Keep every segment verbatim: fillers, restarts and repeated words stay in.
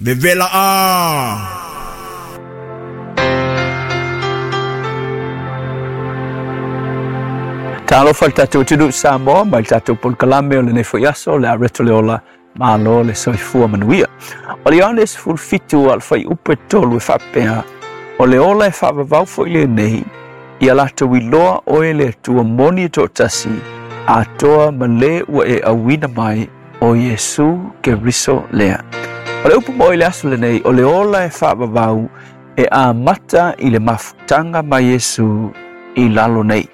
Vevela a. Talofa le tatou atunuu Samoa mai le tatou polokalame o lenei foi aso le areto le ola malo le soifua manuia. O le Ioane sefulu fitu a le fuaiupu e tolu e faapea, o le ola e faavavau foi lenei, ia latou iloa oe le Atua moni e toatasi, atoa ma le ua e auina mai o Iesu Keriso lea. O le upu mo i le aso lenei, o le ola e faavavau e amata i le mafutaga ma Iesu i lalo nei.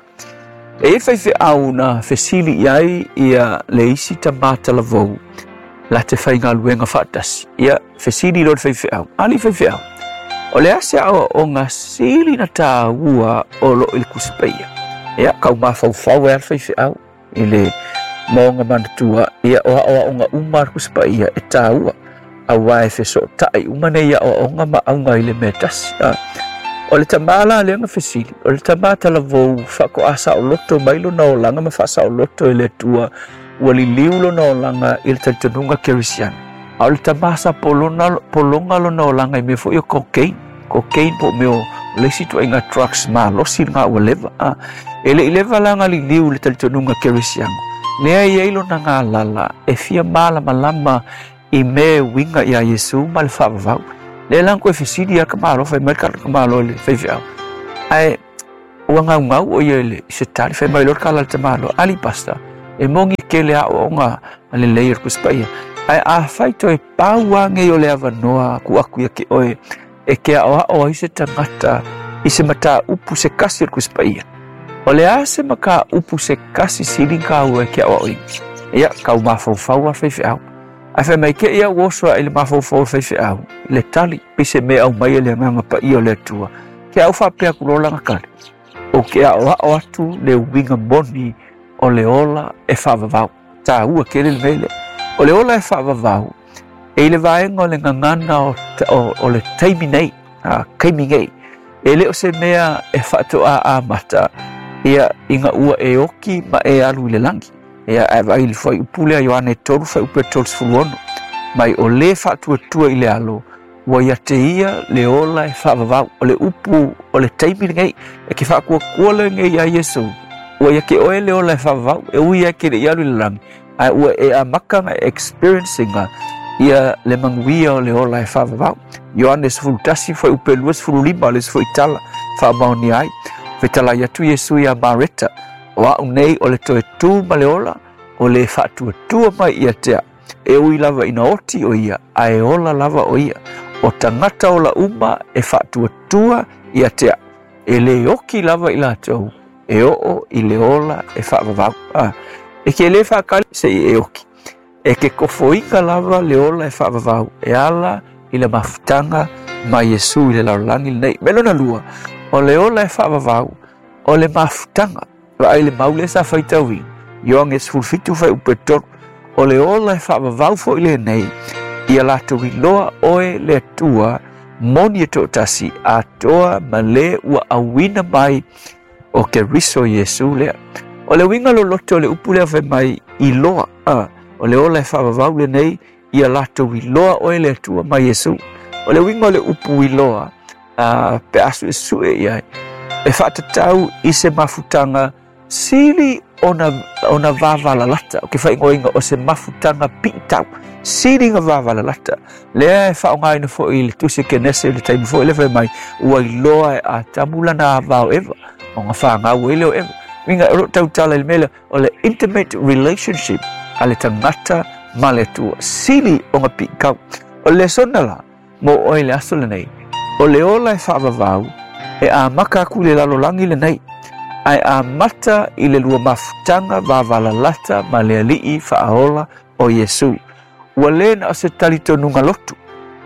E i faifeau na fesili i ai ia le isi tamata lavou la te whaingaluenga faatasi. Ia fesili lo le faifeau. Ali faifeau. O le ase ao o ngā sili na tāua o lo i le kusipaia. Ia kau mafaufau e al faifeau i le maonga manatua. Ia o ao o ngā uma al kusipaia e tāua. Aua e feso tai uma nei ia o o ngā maunga i le mea tasi. O le tamala le nga fesili, o le tamata lavou whako asa o loto mai lo na olanga ma whasa o loto i le tua ua liliu lo na olanga i le talitonuga kerisiana. A o le tamasa polona, polonga lo na olanga i mea foi o cocaine. Cocaine po mea o leisi tua inga drugs ma losi ngā ua leva. A, e le i leva la nga liliu le talitonuga kerisiana. Nea i eilo na ngā lala e fia mala malama i mea winga ia Iesu ma le whaavavau. Le lang koe fesili a ka malo, fai mai ka malo le faifeau. Ae, ua ngau ngau o ia le se tali, fai mai lor ka lal te malo, ali pasta, e mongi ke le ao o ngā le leir kuspaia. Ae, a fai toe pau ange o le avanoa ku aku ia ke oe, e ke ao ao ai se tangata, i se mata upu se kasi o kuspaia. O le a se maka upu se kasi siling ka ua e ke ao ao i. Ia, kau mafaufau a faifeau. Ai fai mai ke ia uoso i le mafaufau faifeau, le tali, pise me au mai le nganga pa ia o le atua. Ke au whapea kulola ngā kare. O ke ao ao atu le winga moni o le ola e whaavavau. Tā ua ke le mele. O le ola e whaavavau, e le vaenga o le ngangana o, o, o le taimi nei, a, kaimi nei. E le o se mea e whaatoa a mata, ia inga ua e oki ma e alu i le langi. Ia e vai le fai upule a Ioane tolu fai upe tolu sefulu ono. Mai o le faatuatua i le alo, ua ia te ia le ola e faavavau. O le upu o le taimi lenei, e ke faakuakua lenei ia Iesu. Ua ia ke oe le ola e faavavau, e ui e ke le ialu i le langi. Ae ua e amaka nga experiencing ia le manguia o le ola e faavavau. Ioane sefulu tasi fai upe lua sefulu lima le sefulu itala faamaoni ai. Fetala ia tu Iesu ia Mareta. O au nei o le toe tū ma le ola, o le faatuatua mai ia tea. E ui lava ina oti o ia, a e ola lava o ia. O tangata ola uma e faatuatua ia tea. E le oki lava i latou, e oo i le ola e faavavau. Ah, e ke le whaakali se i e oki. E ke kofoinga lava le ola e faavavau. E ala i le mafutaga ma Iesu i le lalolagi lenei. Melona lua, o le ola e faavavau, o le mafutaga. Vai le maule sa faitauina. Ioane sefulu fitu fai upe tolu. O le ola e faavavau foi lenei, ia latou iloa oe le Atua moni e toatasi, atoa ma le ua auina mai o Keriso Iesu lea. O le uiga loloto o le upu lea fai mai iloa. A, o le ola e faavavau lenei, ia latou iloa oe le Atua ma Iesu. O le uiga o le upu iloa, a, pe asu e sue iai, e faatatau i se mafutaga sili ona, ona vavalalata. O ke whaingoinga o se mafutaga piitau. Sili nga vavalalata. Lea e whaongaina foi i le tusi kenese i le taimi foi le whai mai, ua iloa e a tamulana a vao eva. O ngā whangau e leo eva. Winga o tautala i le mele o le intimate relationship a le tangata ma le Atua. Sili o ngā piikau. O le sona la, mo oe le aso lenei. O le ola e whaavavau, e a maka aku le lalolagi lenei. Ai a mata i le lua mafutaga vavalalata ma le alii faaola o Iesu. Ua le na o se talitonuga lotu.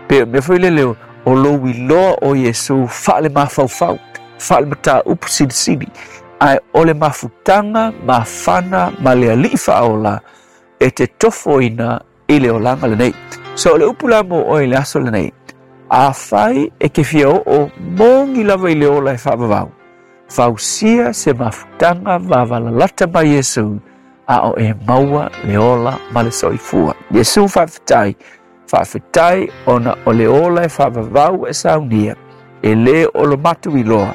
Pe mea foi le leo, o lou iloa o Iesu faale mafaufau, faale mataupu silisili. Ai o le mafutaga mafana ma le alii faaola e te tofoina i le olaga lenei. So o le upu la mo oe le aso lenei, a fai e ke fia oo mongi lava i le ola e faavavau. Fausia se mafutaga vavalalata ma Iesu, a o e maua le ola ma le soifua. Iesu faafetai, Faafetai ona o le ola e faavavau e saunia, e lē o lo matou iloa,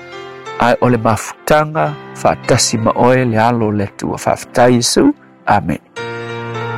ae o le mafutaga faatasi ma oe le alo o le Atua. Faafetai Iesu. Amene.